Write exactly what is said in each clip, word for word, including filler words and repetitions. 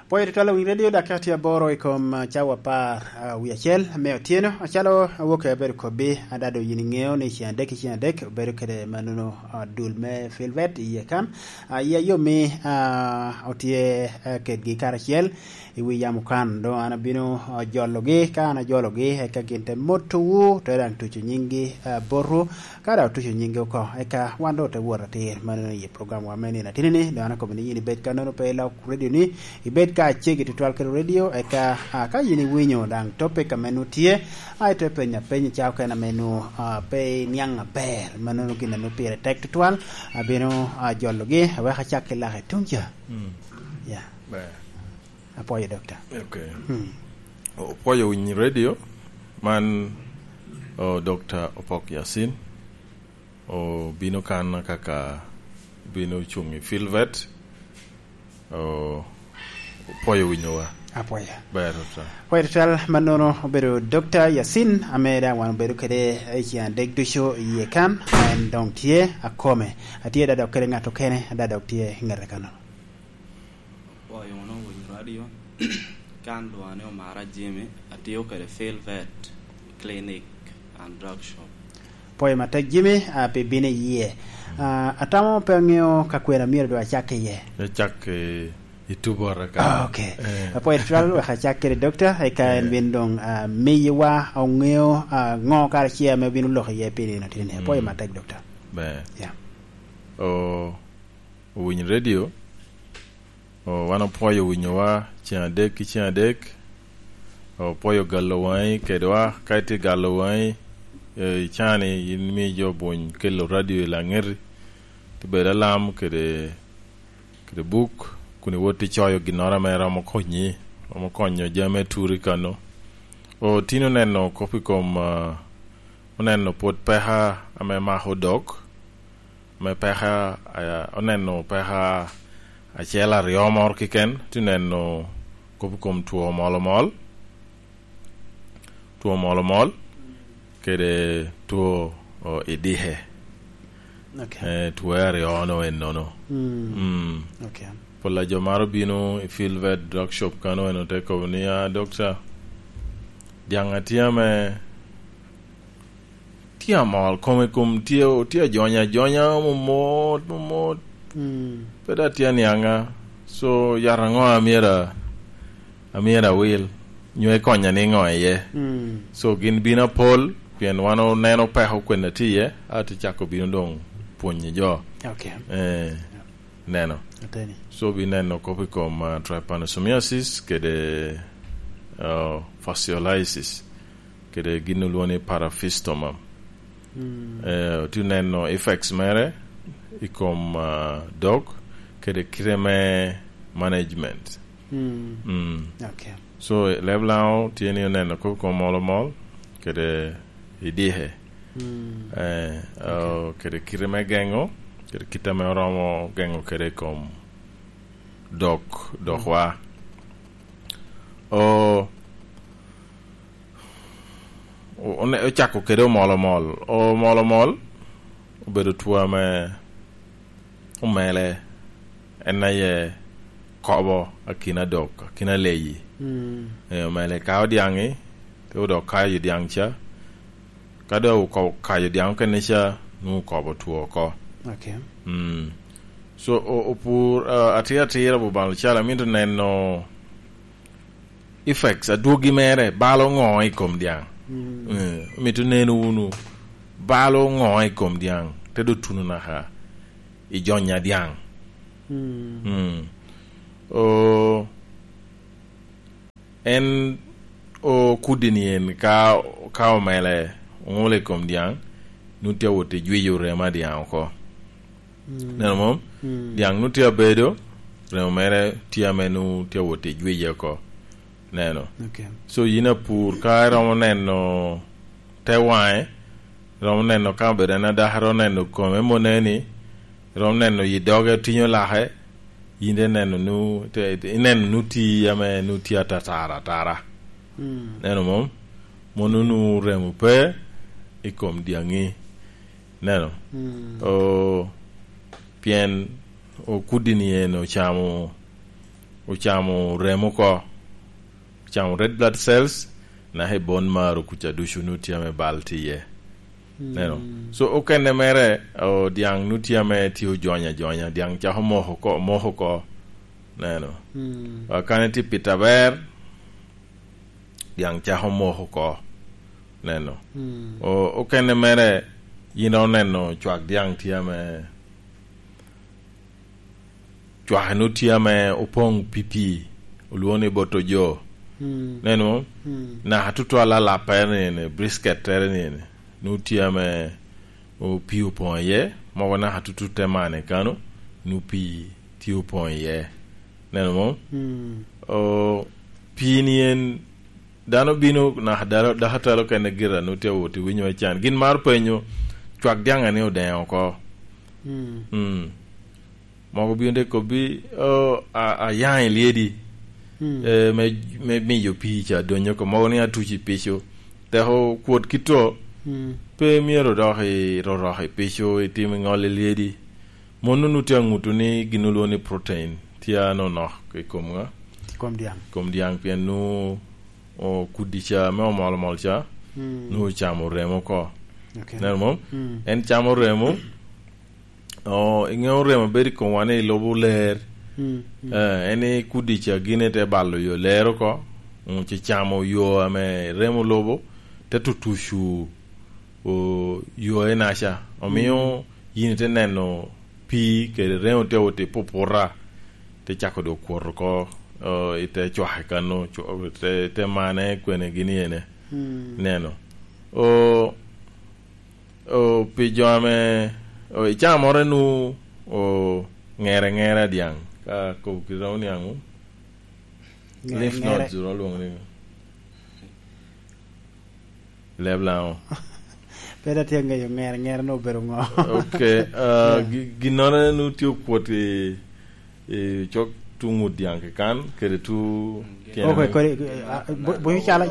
Pwoyo tutwal owiny redio, dakika tye aboro i kom, ah, cawa apar, ah, wie acel me otyeno. Acalo awoke abedo kobbi, adado yin iŋeo ni ceŋ adek ki ceŋ adek obedo kede manono, ah, dul me Filvet i iye kan. Ah, i ayomi, ah, otye, ah, kedgi karacel i wi yamo kan. Doŋ an abino, ah, jologi, ka an ajologi, eka gin te motowu, te daŋ tuco nyinggi, ah, botwu. Ka daŋ otuco nyingi oko, eka wan doŋ ote wot atir mano i program wa me nino atini-ni. Doŋ an akobo ni yin ibed kannono pe ilok redio-ni, ibed ka acegi tutwal kede redio, eka, ah, ka yin iwinyo daŋ topic ame nwoŋo tye, a ite penyo apeny i cawa okene ame nwoŋo, ah, pe iniaŋ aber, mano gin a nwoŋo pire tek tutwal, abino, ah, jologi, awek acak ki lak i tuŋ ca. Mm. Ya. Ber. Apwoyo, Dokta. Ok. Hmm. Opwoyo winyo redio, man, o, Dokta Opok Yasin, obino kan kaka bino cuŋ i Filvet, o, opwoyo winyowa. Apwoyo. Ber, Dokta. Apwoyo tutwal, mannono obedo Dokta Yasin, ame daŋ wan obedo kede i ceŋ adek ducu i iye kan, en doŋ tye akome. Atye da dok kede ŋat okene, da dok tye ŋete kannono. Apwoyo wunu winyo radio. Kan lwonga ni Omara Jimmy, atiyo kede Filvet Clinic and Drug Shop. Pwoyo matek, Jimmy, ah, pi bino iye. Ah, atamo pe aŋeo ka kwena myero doŋ acak iye. Ecak i, i Tubora ka. Ah, ok. Eh. Apwoyo tutwal, wek acak kede Dokta, eka en Eh. bin doŋ, ah, miyowa oŋeo, ah, ŋo kara ce ame obino lok iye pi nino tini. Apwoyo Mm. matek, Dokta. Ber. Ya. O, owiny redio, o, wan opwoyo winyowa ceŋ adek ki ceŋ adek, opwoyo galo waŋi kedwa, ka itye galo waŋi, e, i caa-ni, in imi jo buny kelo radio i laŋeti, tye bedo alam kede, kede buk, kun iwot icoyo ginnoro ame romo konyi, romo konyo jami me turi kano. O, tin oneno kop i kom, ah, oneno pwod peka ame mako dok, me peka, eh, oneno peka acel aryo moro keken, tye neno kop i kom two omolomol, two omolomol, kede two, o, idike. Ok. Eh, two aryo no ennono. Mm. Mm. Ok. Pol a jo maro bino i Filvet Drug Shop kano, en ote kobo ni, "Ah, Dokta, dyaŋ atye ame tye amol, kome kom tye, tye ajonya ajonya, momot, momot. Mm. Pe da tye aniaŋa. So, yat aŋo amyero, amyero awil? Nyo ikonya niŋo iye?" Mm. So, gin bino apol, pien wan oneno peko kwene tye iye, a tye cako bino doŋ pwonyo jo. Ok. Eh, neno. Ateni. So, bineno kop i kom, ah, trypanosomiasis kede, ah, fasciolitis. Kede gin olwoŋo ni paraphistoma. Mm. Eh, otye neno effects mere i kom, ah, dok kede kite me management. Mm. Mm. Ok. So, leb Laŋo tye ni oneno kop i kom mol omol kede idike. Mm. Eh, ok. Oh, kede kite me geŋo, kede kite ame oromo geŋo kede i kom dok, dokwa. Mm. O, o-, one-, ocako kede omolomol. Omolomol obedo two ame omele, en aye kobo akina dok, akina leyi. Mm. Eh, omele kao dyaŋi, te odok kayo dyaŋ ca. Ka dok oko-, kayo dyaŋ okene ca, nwoŋo okobo two oko. Ok. Mm. So, o-, opur, ah, atir atira Bubalo cal, amito neno effects, adwogi mere, balo ŋo i kom dyaŋ? Mm. Eh, omito neno wunu, balo ŋo i kom dyaŋ, te dok tuno naka i jonya dyaŋ. Mm. Mm. O, en okuddi ni en ka, ka omele oŋulo i kom dyaŋ, nwoŋo tye awot i jwiyo remo a dyaŋ oko. Mm. Neno mom? Mm. Dyaŋ nwoŋo tye abedo, remo mere tye ame nwoŋo tye awot i jwiye oko. Neno. Ok. So, yin apur, ka iromo neno te waŋe, iromo neno ka obedo en adaka, iromo neno kome moneni, iromo neno yi doge tinyo lake, yin te neno nu-, te, te, ineno nu ti ame nu tye atatara atara. Mm. Neno mom? Mono nu remo pe i kom dyaŋi. Neno? Mm. O, pien okuddi ni en ocamo ocamo remo oko, ocamo red blood cells, naka i bone marrow kuca ducu nut tye ame bal tye iye. Neno. So, okene mere, o, dyaŋ nut tye ame tye ojonyo ajonya, dyaŋ cako moko oko, moko oko. Neno. A, kane tye pito aber, dyaŋ cako moko oko. Neno. O, okene mere, yin oneno cwak dyaŋ tye ame cwake nut tye ame opoŋ pi pii, olwoŋo ni boto jo. Neno, naka tutwal alappere ni ene, brisket-tere ni ene, nut tye ame o-, pii opoŋ iye, mogo naka tutut te mane kano, nut pii tye opoŋ iye. Neno mo? O, pii ni en, dano bino naka dalo, dako atalo kene gira nut tye awot i winyo me can. Gin mar penyo, cwak dyaŋ ni odeŋo oko. Mm. Mogo bino te kobbi, "Oh, a-, ayaŋ i lyedi, eh, me, me miyo pii ca donyo oko." Mogo ni atuci pico. Teko kwot kito, pe myero dok i rorok i pico, itim i ŋol i lyedi. Mon nunu tye aŋuto ni gin olwoŋo ni protein tye anonok i kom ŋa? I kom dyaŋ. I kom dyaŋ, pien nunu, o, kudi ca me omol omol ca, nunu ocamo remo oko. Ok. Neno mo? En camo remo, o, iŋeo remo bedo i komwa ni lubo ler. Eh, en i kudi ca gine te balo yo ler oko, mm, ci camo yo ame remo lubo, te tutucu, o, yo enaca. Omio yin ite neno pii kede remo te oti puputa, te cako dok kwot oko, o, ite cwake kano, cwa-, te, te mane kwene gini ene. Neno. O, o, pi jo ame, o, icamore nu, o, ŋere ŋere a dyaŋ, ka kobo kite romo niaŋ, ŋere, lymph ŋere. Nodes ro lwoŋo ni. Leb Laŋo. Pe da tye ŋeyo ŋer, ŋer no obedo ŋo. Ok, ah, gi-, ginnoro nu tye okwot i, i cok tu ŋut dyaŋ kikan, kede tu tyene. Ok, kodi, ah, bu-, buco cal,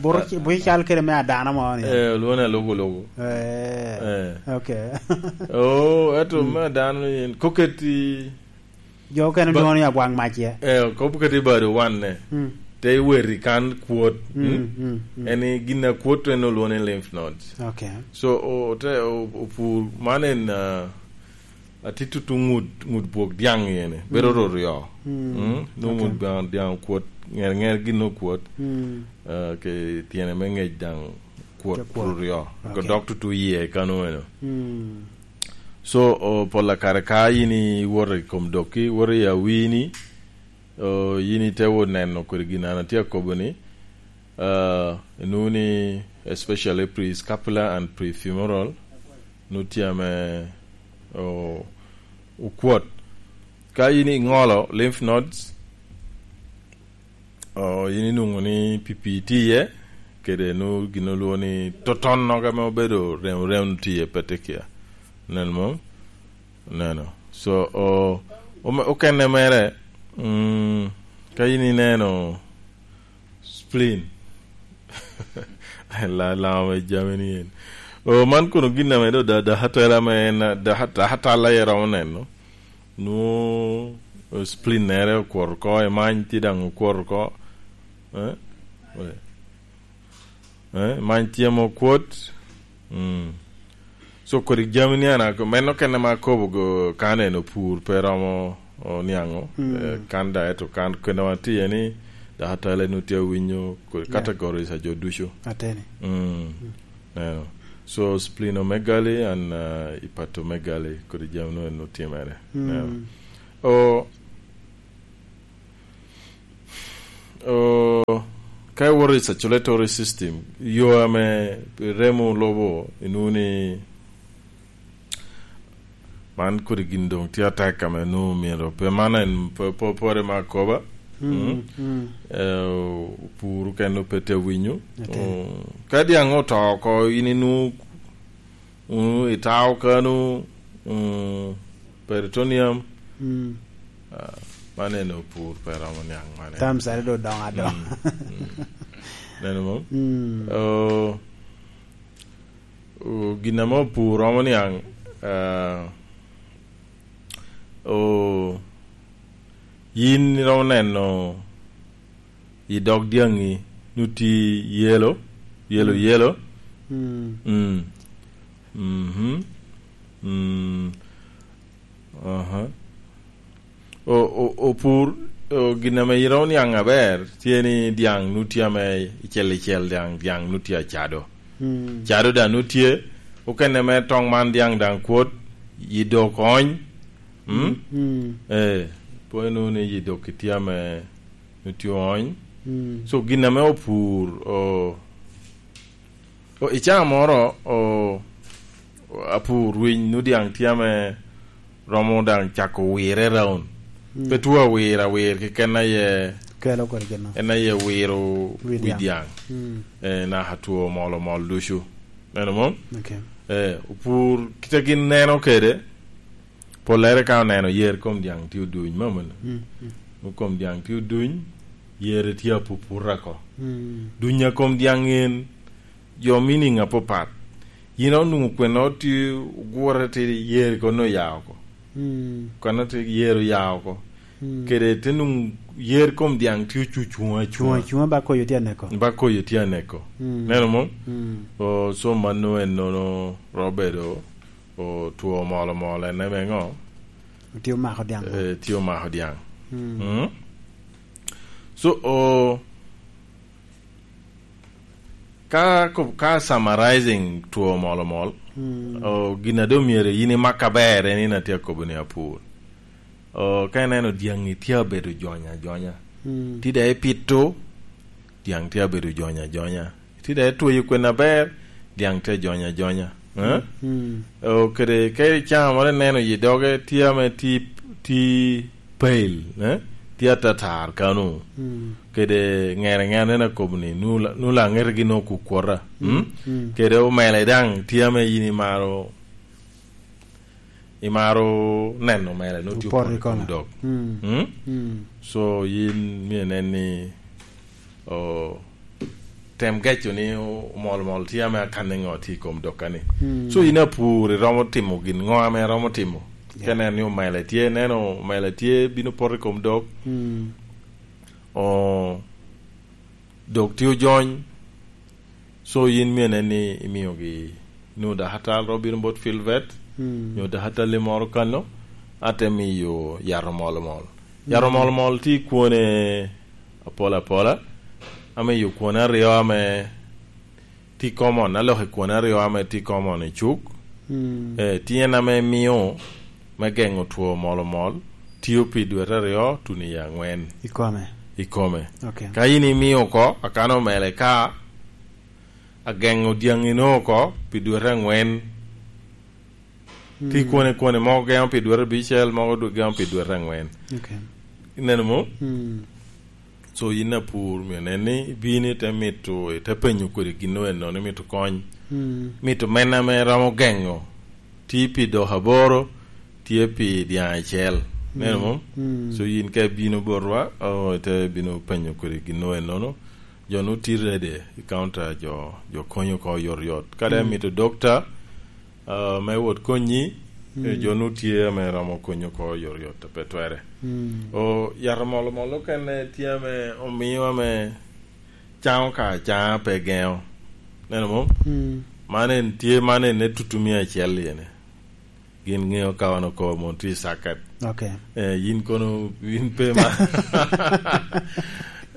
buto, buco cal kede me adano mo ni. Eh, olwone alugu lugu. Eh, eh. Ok. Oh, eto me adano ni en, koketi Jo okene lwoŋo ni abwaŋ mac ye. Eh, kop kati bado wanne. Mm. Te iweti kan kwot. Mm, mm, mm. En i gin a kwot en olwoŋo ni lymph nodes. Ok. So, o-, te, o-, opur, man en, ah, atye tutu ŋut, ŋut bwok dyaŋ ene. Bedo roryo. Mm. Mm? Nwoŋo ŋut dyaŋ, dyaŋ okwot, ŋer, ŋer gin okwot. Mm. Ah, ke tyene me ŋec daŋ kwot roryo. Ok. Dok tutu iye kano eno. Mm. So, o, pol a kare ka yin iwoto i kom dokki, iwoto i awini, o, yin ite wot neno kodi gin an atye akobo ni, ah, inwoŋo ni especially prescapular and prefemoral, nwoŋo tye ame, o, okwot. Ka yin iŋolo lymph nodes, o, yin inwoŋo ni pipii tye iye, kede nu gin olwoŋo ni totonnogo ame obedo rem, rem tye iye, petekia. Neno mo? Neno. So, o, ome-, okene mere, mm, ka yin ineno spleen, la-, laŋo me jami ni en. O, man kono gin ame do da-, dakatela ame en, da-, dakatala ye romo neno. Nwoŋo, eh, spleen-nere okwot oko, emany tye daŋ okwot oko. Eh? Eh, emany tye ame okwot. Mm. So, kodi jami ni an ako-, meno kene ma akobo go kan en opur pe romo oniaŋo. Mm. Eh, kan da eto kan kene wan tye ni, dakatala nu tye awinyo kodi categories a jo ducu. Ateni. Mm. Mm. Neno. So, splenomegaly and, uh, hepatomegaly, kodi jami nu en otimere. Mm. Neno. O, o, ka iwoto i circulatory system, yo ame remo lubo, inwoŋo ni man kodi gin doŋ tye atek ame nwoŋo myero pe man en pe-, pe-, pore me akoba. Mm, mm. Eh, opur okene pe tye awinyo. Ate. Mm, ka dyaŋ oto oko, in inwoŋo, mm, itao kano, mm, peritoneum. Mm. Ah, man en opur pe romo niaŋ man en. Tam sare do doŋ adoŋ. Mm, mm. Neno mo? Mm. Oh, O, gin ame opur romo niaŋ, ah, o, Yin iromo neno i dog dyaŋi, nu tye yelo, yelo, Mm. yelo. Mm. Mm. Mhm. Mm. Aha. O, o, opur, o, gin ame iromo niaŋ aber, tye ni dyaŋ nu tye ame icel icel, dyaŋ, dyaŋ nu tye acado. Mm. Cado daŋ nu tye, okene me toŋ man dyaŋ daŋ kwot, yi dok ony. Mm? Mm, mm. Eh, pwod inwoŋo ni yi dok itye ame nu tye ony. Mm. So, gin ame opur, o, o, i caa moro, o, o, apur winy nu dyaŋ tye ame romo daŋ cako wirre raun. Mm. Pe two awir awir keken aye Kelo kodi gin-nu. En aye wiro Wi wi dyaŋ. dyaŋ. Mm. Eh, naka two mol omol ducu. Neno mom? Okay. Eh, opur kite gin neno kede, pollere ka oneno yer kom dyaŋ tye oduny, mamano. Mm, mm. Kom dyaŋ tye oduny, yer tye apupura ko. Mm. Dunya kom dyaŋ en, jo meaning apapat. Yin onwoŋo kwena tye ogure ti yer kono oya oko. Mm. Kwena ti yer oya oko. Mm. Kede te nwoŋo yer kom dyaŋ tye ocucuŋ acuŋa. Cuŋ acuŋa ba koyo tye aneko. Ba koyo tye aneko. Mm. Neno mo? Mm. O, so mano en nono robedo, o, two molo molo en eme ŋo? Tye omako dyaŋ. Eh, tye omako dyaŋ. Mm. Mm. So, o, ka, ka summarizing two mol omol, Mm. o, gin a doŋ myero yin imak aber en, in atye akobo ni apur. O, ka ineno dyaŋi tye abedo jony ajonya. Mm. Ti daŋ ipito, dyaŋ tye abedo jony ajonya. Ti daŋ itweyo kwen aber, dyaŋ tye jony ajonya. Eh? Mm. O, kede ka icamo moro ineno yi doge tye ame ti, ti pale, eh? Tye atatar kano. Mm. Kede ŋere ŋere neno akobo ni, nu la-, nu laŋete gin okukwota. Mm? Mm. Kede omele daŋ tye ame yin imaro, imaro neno omele, nu tye Opoto i opoto i kom kona. dog. Mm. Mm? Mm. So, yin myero inen ni, o, tem geco ni o-, omol omol tye ame akanne ŋo tye i kom dog kani. Mm. So, yin apur, iromo timo gin ŋo ame iromo timo? Yeah. Ka ineno ni omele tye, ineno omele tye, bino poto i kom dog. Mm. O, dog tye ojony. So, yin myero inen ni imiogi, nyo dakatal ro bino bot field vet, Mm. nyo dakatal moro kano, ate miyo yat omol omol. Yat Mm. omol omol tye i kwone apol apola, ame iyo kwone aryo ame tye common, aloko i kwone aryo ame tye common i cuk. Mm. Eh, tye en ame mio me geŋo two mol omol, tio pi dwete aryo tuno i aŋwen. I kome. I kome. Okay. Ka in imio oko, akano omele ka, ageŋo dyaŋino oko pi dwete aŋwen. Mm. Tye kwone kwone, mogo geŋo pi dwete abicel, mogo dwe-, geŋo pi dwete aŋwen. Okay. Ineno mo? Mm. So, yin apur, myero nen ni ibino ite mito, ite penyo kodi gin eno ni mito kony. Mm. Mito men ame romo geŋo. Tye pi dok aboro, tye pi dyaŋ acel. Neno Mm. mo? Mm. So, yin ka ibino botwa, o, ite bino penyo kodi gin eno. Jo nu tye ready i counter, jo, jo konyo oko yot yot. Ka dai Mm. mito dokta, ah, me wot konyi, Mm. eh, jo nu tye ame romo konyo oko yot yot, pe twere. Mm. O, yat omol omol okene tye ame omio ame caŋo ka caŋa pe geŋo. Neno mo? Mm. Man en tye, man en ne tutu mia acel yene. Gin ŋeo ka wan oko mon tye i circuit. Okay. Eh, yin kono, yin pe ma.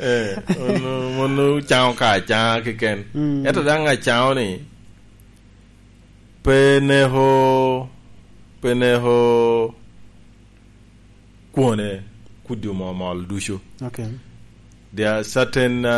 Eh, mon, mon ocaŋo ka acaŋa keken. Mm. Ento daŋ acaŋo ni, pe neko, pe neko kwone kudi omol omol ducu. Okay. There are certain, uh,